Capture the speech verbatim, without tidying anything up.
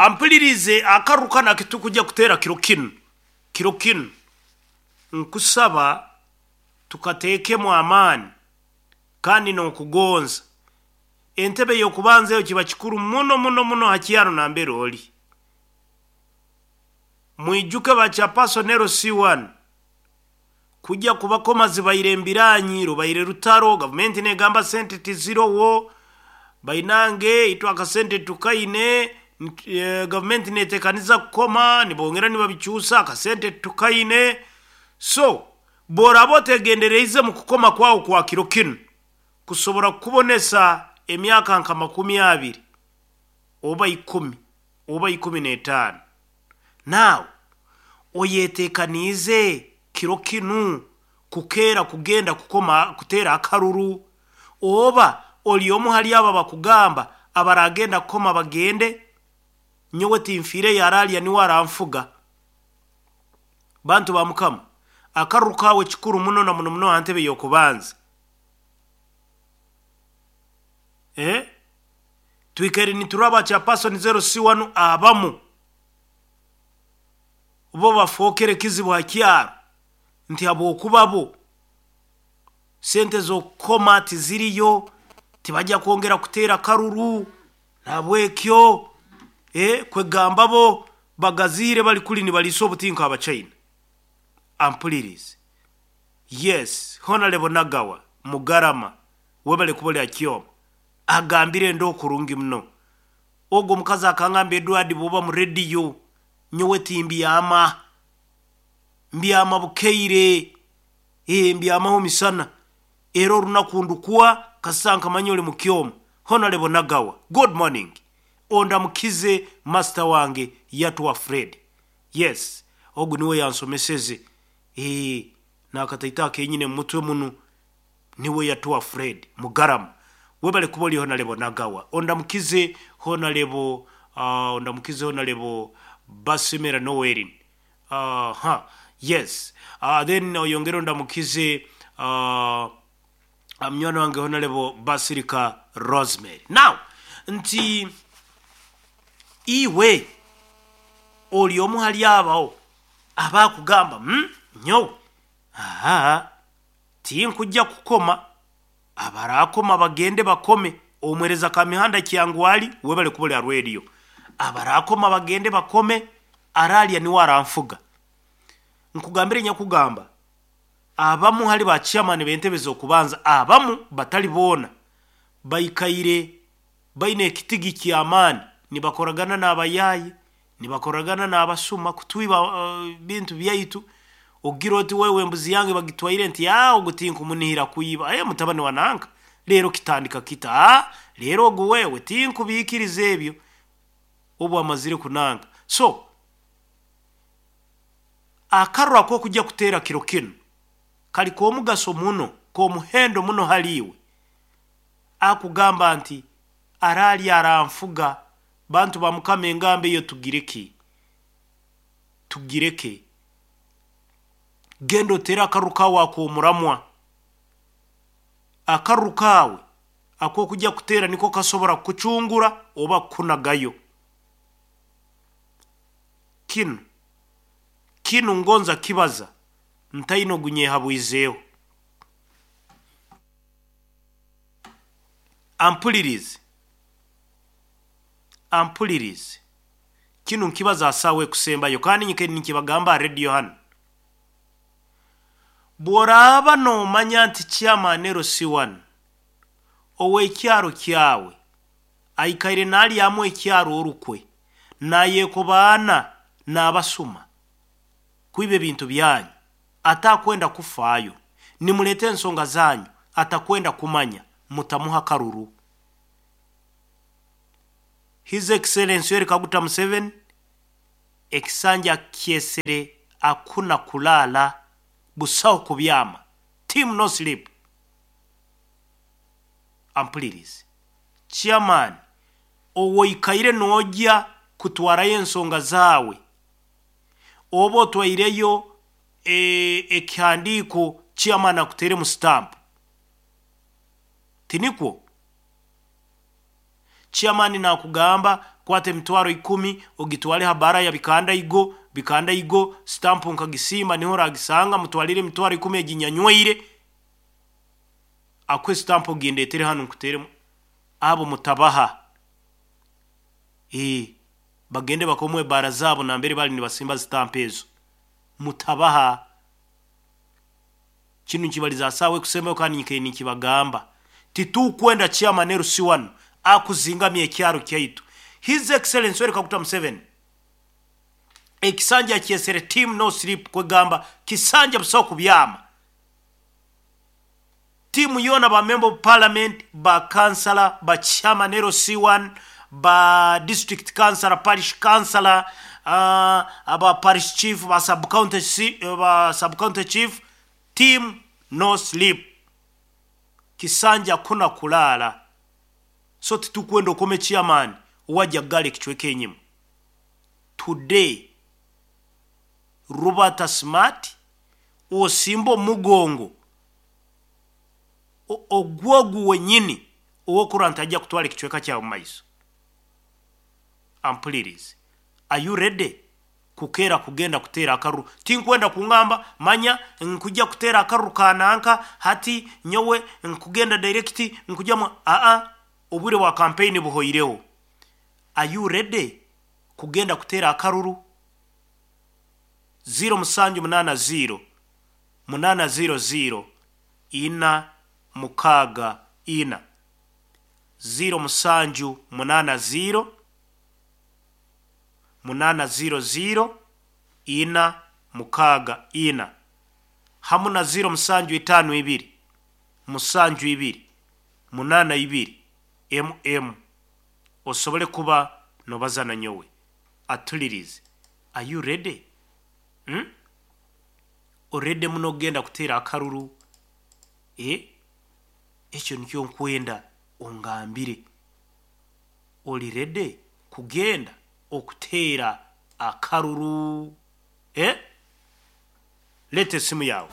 Ampulirize, akaruru kanu akitukujja kuteera kiro kinu, kiro kinu nkusaba tukateekemu amaani kandi n'okugonza. Entebe y'okubanza eyo kiba kikuru muno muno muno ha kyaro nambere oli. Mwijuke ba chairperson L C one kujja kubakoma zibaire embiranyi, rubaire rutaro, gavumenti negamba sente tizirowo, bainange itwe akasente tukaine, e, gavumenti netekaniza kukoma, nibongera nibabikyusa akasente tukaine. So boraba otegendereize mu kukoma kwawo kwa kiro kinu kusobora kukubonesa emyaka nka makumi abiri oba ikumi oba ikumi n'etaano, naawe oyetekaniize kiro kinu kukeera kugenda kukoma kuteera akaruru, oba oli omu hali abo abakugamba abaragenda kukoma bagende, nyowe tinfiire yaralya niwe aranfuga. Bantu ba Mukama, akaruru kawe kikuru muno na muno muno ha ntebe y'okubanza. Eh? Twikaire nituraba chairperson zero C one abamu bo bafookere kizibu ha kyaro nti habwokuba bo sente z'okukoma tiziriyo, tibajja kwongera kuteera karuru, nabwekyo eh, kwegamba bo bagazihire bali kuli nibalisa obutinka Abachina. Ampulirize. Yes, Honorable Nagawa Mugarama webale kubolya kyoma agambire ndo kurungi muno. Ogwo omukazi akangamba Edward bwoba mu radio nyowe timbyama, mbyama bukeire, eh, mbyamaho misana era olunaku ndukwa kasanka manyoli mu kyoma. Honorable Nagawa, good morning. Ondamukize master wange yatwa Fred. Yes, ogu niwe yansomeseze. Eh, nakataita kenyine mutwe muno niwe yatwa Fred Mugarama. Webale kuboli Honorable Nagawa. Ondamukize Honorable, uh, ondamukize Honorable Basimera Noelin. Uh, huh. Yes. Uh, then oyongera ondamukize uh, mnywana wange Honorable Basilica Rosemary. Now, nti iwe oli omu hali abawo abakugamba hmm, nyowe aha tinkujja kukoma, abarakoma bagende bakome. Omwereza kamihanda kyangwali webale kubolya radio, abarakoma bagende bakome, aralya niwe aranfuga. Nkugambire nyakugamba abamu hali ba chairman b'entebe z'okubanza, abamu batali boona baikaire baine ekitigi ky'amaani, nibakoragana n'abayayi, nibakoragana n'abasuma kutwiba uh, bintu byaitu. Ogira oti wewe embuzi yange bagitwaire nti ah, ogu tinkumunihira kuiba, eh, mutabani wa nanka leero kitandika kita, ah, leero ogu wewe tinkubikiriza ebyo obu amazire kunanga. So akaruru ak'okujja kuteera kiro kinu kali k'omugaso muno, k'omuhendo muno haliiwe. Akugamba nti arali aranfuga. Bantu ba Mukama, engambo eyo tugireke, tugireke. Genda otere akaruru kawe ak'omuramwa. Akaruru kawe ak'okujja kuteera niko kasobora kukucungura oba kukunagayo. Kinu kinu ngonza kibaza ntaino gunyehabwizeeho. Ampulirize, ampulirize. Kinu nkibaza asawe kusembayo kandi nyike nikibagamba radio hano. Bworaba nomanya nti chairman L C one ow'ekyaro kyawe aikaire nalyamu ekyaro orukwe nayekobaana n'abasuma kwiba ebintu byanyu, atakwenda kufaayo, nimuleta ensonga zanyu atakwenda kumanya, mutamuha karuru. His Excellency Yoweri Kaguta Museveni ekisanja kyesere akuna kulala busaho kubyama, team no sleep. Ampulirize. Chairman owoikaire nojja kutwarayo ensonga zaawe, oba otwaireyo e, ekihandiiko chairman akutere mu stamp, tinikwo? Chairman nakugamba Kwata emitwaro ikumi ogitwale ha bara ya Bikandaigo. Bikandaigo stampu nkagisimba, niho oragisanga. Mutwalire emitwaro ikumi eginyanywaire, akuhe stampu ogindetere hanu nkuteremu. Abo mutabaha, ee bagende bakomwe ebara zabo nambere bali nibasimba stampu ezo. Mutabaha. Kinu nkibaliza saawa ekusembayo, kandi nyikaire ninkibagamba, titukwenda chairman L C one akuzingamya ekyaro kyaitu. His Excellence Yoweri Kaguta Museveni ekisanja akyesere team no sleep, kwegamba kisanja busaho kubyama. Tiimu yoona, ba member of parliament, ba councillor, ba chairman L C one, ba district councillor, parish councillor, uh, aba parish chief, ba sub county, ba sub county chief, team no sleep, kisanja kuna kulaala. So titukwenda okome chairman owajja kugala ekicweka enyima. Today Robert Smart osimba omugongo ogwogu wenyini owokurora nti ajja kutwala ekicweka kyawe mu maiso. Ampulirize, are you ready kukeera kugenda kuteera akaruru? Tinkwenda kungamba manya nkujja kuteera akaruru kananka, hati nyowe nkugenda direct nkujjamu. Aa, obwire bwa campaign buhoireho. Are you ready kugenda kuteera akaruru? zero musanju munana zero munana zero zero ina mukaaga ina, zero musanju munana zero munana zero zero ina mukaaga ina, hamu na zero musanju itaano ibiri musanju ibiri munana ibiri mm, osobole kuba nobaza na nyowe. Atulirize, are you ready? hmm? Already muno ogenda kuteera akaruru? Eh, ekyo nikyo nkwenda ongambire, oli ready kugenda okuteera akaruru? Eh, leeta esimu yawe.